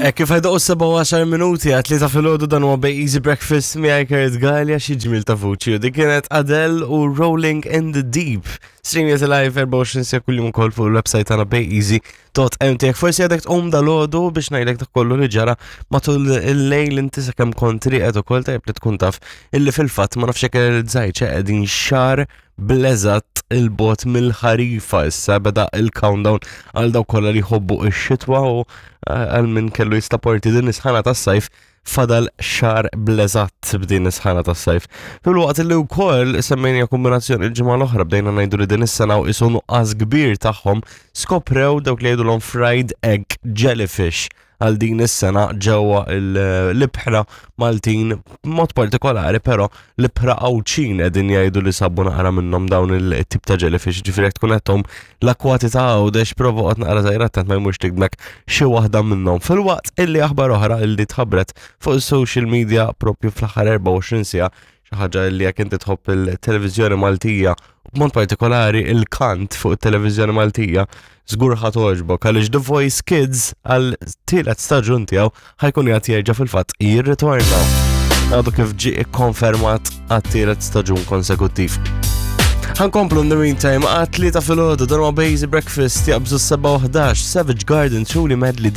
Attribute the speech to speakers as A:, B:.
A: E kif ħajdoq 7 minuti għat li ta' filgħodu dan huwa Bay Easy Breakfast miegħi Kurt Gallia xi ġmil ta' vuċi u dik kienet Adele u Rolling in the Deep. Streamjet live 24 sija kuljum ukoll fuq il-website tagħna bayeasy.mt. Jekk forsi għadek tqum dal-għodu biex ngħidlek dak kollu li ġara matul il-lejl inti sakemm kont rieqed ukoll tajjeb li tkun taf illi fil-fatt ma nafx hekk realizzajt qegħdin xahar bl-eżatt il-bot mill-ħarifa issa beda il-countdown għal dawk kollha li jħobbu x-xitwa u eh, għal min kellu jistaporti din is-sħana tas-sajf fadal xar bl-eżatt b'din is-sħana tas-sajf. Fil-waqt li wkoll semmejna kombinazzjoni il-ġimgħa l-oħra bdejna ngħidu li din is-sena u isu nuqqas kbir tagħhom skoprew dawk li jgħidulhom fried egg jellyfish għal din is-sena ġewwa l-ibħra Maltin mod partikolari però l-ibħra Għawdxin qegħdin jgħidu li sabu naqra minnhom dawn il-tip ta' jellyfish, ġifieri jekk tkun qed l-akwati ta' Għawdex prova qgħod naqra żgħira attent ma jmurx tigdmek xi waħda minnhom. Filwaqt illi aħbar oħra illi tħabbret fuq is-social media propju fl-aħħar 24 siegħa xi ħaġa li jekk inti tħobb il-televiżjoni Maltija b'mod partikolari il-kant fuq it-televiżjoni Maltija żgur ħa togħġbok għaliex The Voice Kids għal tielet staġun tiegħu ħajkun jgħat jerġa' fil-fatt jirritorna. Għadu kif ġie ikkonfermat għat-tielet staġun konsekuttiv. Ħankomplu in the meantime għat tlieta filgħodu dan huwa Bazy Breakfast jaqbżu 7 Savage Garden Truly Madly.